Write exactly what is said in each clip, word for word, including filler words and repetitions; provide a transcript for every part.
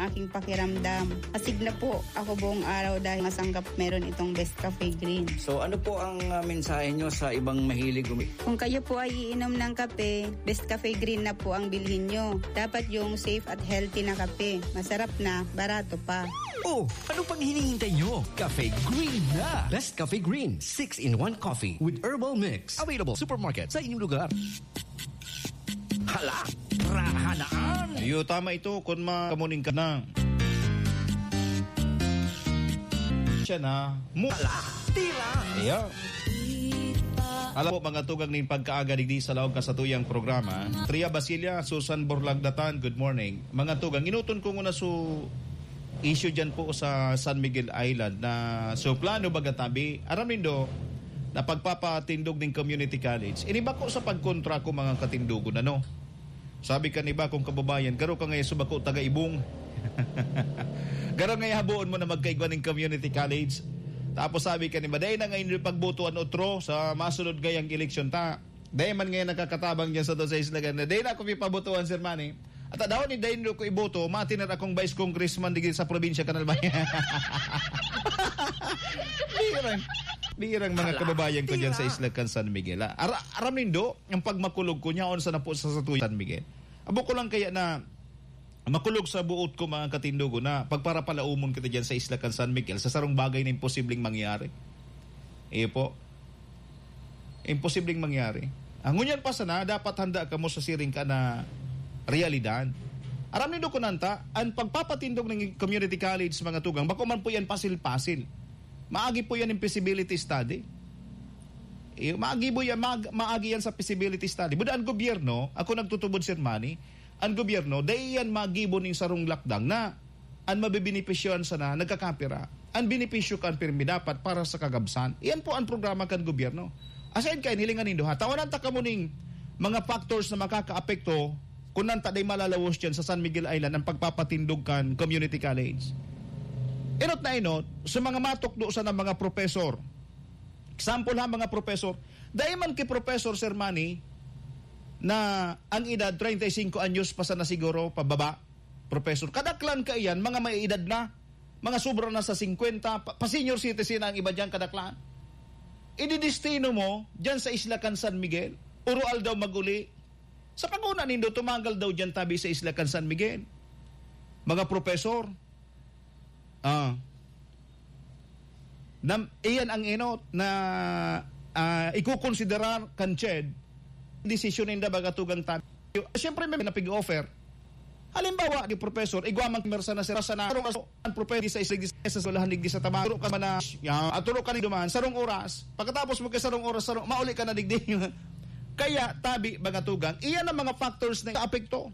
aking pakiramdam. Asig na po ako buong araw dahil masanggap meron itong Best Cafe Green. So, ano po ang, ah, mensahe nyo sa ibang mahilig umi- Kung kayo po ay iinom ng kape, Best Cafe Green na po ang bilhin nyo. Dapat yung safe at healthy na kape. Masarap na, barato pa. Oh, ano pang hinihintay nyo? Cafe Green na! Best Cafe Green, six-in-one coffee with herbal mix. Available supermarket sa inyong lugar. Hala, rahanaan! Iyo, tama ito, kun ma-, kamuning ka na. Siya na, mu- Hala, tira! Iyo. Alam po, mga tugang nin pagkaaga digdi sa laog ka sa tuyang programa. Tria Basilia, Susan Borlagdatan, good morning. Mga tugang, inuton ko muna su issue dyan po sa San Miguel Island na su plano baga tabi. Aram nindo, na pagpapatindog ning community college. Ini bako sa pagkontra ko, mga katindogon, ano? Sabi kan iba kong kababayan, "Garo ka ngayon sa bako taga Ibong." Garo ngayon haboon mo na magkaigwa ning community college. Tapos sabi kan iba, "Dai na ngayon yung pagbotoan otro sa masunod ngayang eleksyon ta. Dai man ngayon nakakatabang dyan sa to sa Isla Ganda. Dai na ako pipabotoan, Sir Manny." At daw ni Dai ko iboto, matinar akong vice congressman digdi sa probinsya kan Albay. Birang, birang mga Hala, kababayan ko dyan sa tira. Isla kan San Miguel, ah. Ara-, aram nindo, ang pagmakulog ko niya, on sa napo sa, sa San Miguel. Abo ko lang kaya na makulog sa buot ko, mga katindogon, na pagparapalaumon kita dyan sa Isla kan San Miguel, sa sarong bagay na imposibleng mangyari. Iyo po. Imposibleng mangyari. Ang ngunyan pa sana, dapat handa kamo sa siring ka na realidad. Aram nindo kunanta, ang pagpapatindog ng community college, mga tugang, bako man po yan pasil-pasil. Maagi po yan yung feasibility study. Eh, maagi po yan, mag-, maagi yan sa feasibility study. Buda ang gobyerno, ako nagtutubod, Sir Manny, ang gobyerno, dai yan magibo ning sarong lakdang na an mabebenepisyohan sana nagkakapira. An benepisyo kan pirmi dapat para sa kagabsan. Iyan po ang programa kan gobyerno. Aside kain, hilingan nindo ha. Tawanan ta kamo ning mga factors na makakaapekto kung nanta day malalawos dyan sa San Miguel Island ang pagpapatindog kan community college. Inot na inot, sa mga matukdo sa mga professor. Example ha, mga professor. Dai man ki professor, Sir Manny, na ang edad treinta y cinco anyos pa sana siguro pababa, professor. Kadaklan kaiyan, mga may edad na, mga sobra na sa singkwenta, pa, pa senior citizen ang iba diyan, kadaklan. Ididestino mo diyan sa isla kan San Miguel, uro aldaw maguli. Sa paguna nindo, tumagal daw diyan tabi sa isla kan San Miguel. Mga professor, ah, nam-, iyan ang inot na, ah, ikukonsiderar kan CHED, desisyon ninda baga tugang tabi. Siyempre, may napig-offer. Halimbawa, di professor, igwa man mersa na sira sa narong aso, ang professor di sa isig, di sa eskwelahan, digdi sa Tabaco, ka man na, ya, aturo ka ni duman, sarong oras. Pagkatapos mo kay sarong oras, sarong, mauli ka na digdi. Kaya, tabi, mga tugang, iyan ang mga factors na apekto.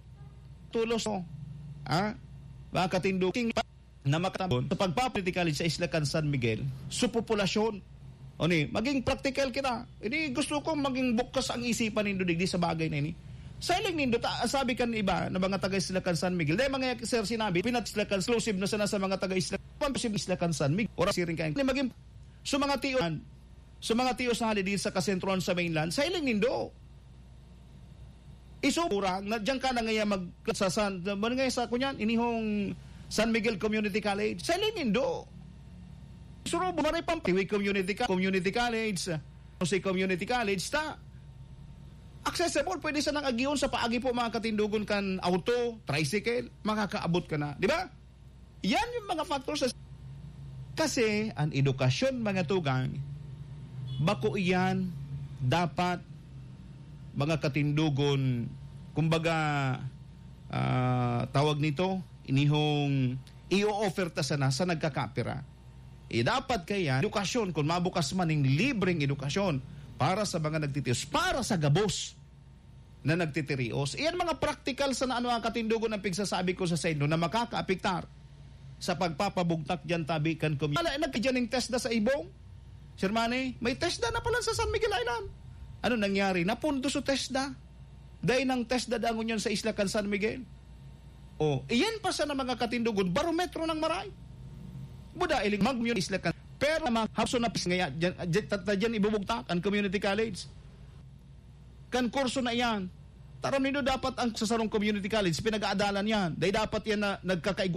Tulos, no? Ha? Mga katinduking na makatabon sa pagpapolitikal sa isla kan San Miguel, sa populasyon. O ni, maging practical kita. Ini gusto ko maging bukas ang isipan nindo digdi sa bagay na ini. Sa hiling nindo, ta-, sabi kan iba na mga taga isla kan San Miguel, dahil mga sir sinabi, pinat isla kan exclusive na sana sa mga taga isla, exclusive isla kan San Miguel. Ora siring kayo. Ni maging, sa mga tiyo, sa mga tiyo sa halidin sa kasentrohan sa mainland, sa hiling nindo. Iso, urang, na diyan ka na ngayon mag-, sa San, man ngayon sa kunyan, inihong San Miguel Community College. Sa hiling nindo. Surubo, maray pang Tiwi Community Co-, Community College, Jose Community College, ta accessible, pwede sa nang agion sa paagi po mga katindugon kan auto, tricycle, makakaabot ka na. Di ba? Yan yung mga factors sa, kasi ang edukasyon, mga tugang, bako iyan dapat mga katindugon, kumbaga, ah, tawag nito, inihong i-offer ta sana sa nagkakapira. Eh, dapat kaya, edukasyon, kung mabukas man ning libreng edukasyon para sa mga nagtitios, para sa gabos na nagtitirios. Iyan mga praktikal sana ano ang katindugon ang pigsasabi ko sa saindo na makakaapektar sa pagpapabugtak diyan tabi kan komi-, Wala, nagkadyan ning TESDA sa Ibong. Sir Manny, may TESDA na pala sa San Miguel Island. Ano nangyari? Napundo sa TESDA. Dahil ng TESDA dangon yun sa isla kan San Miguel. Oh, iyan pa sana mga katindugon, barometro ng maray. Buda, iling mag-, yun isla kan. Pero mga hapso na pis ngaya, dyan, dyan, ta-, ta-, dyan ibubugtak ang community college. Kan kurso na iyan. Taram nindo dapat ang sa sarong community college, pinag-aadalan yan. Dahil dapat yan na nagkakaigwa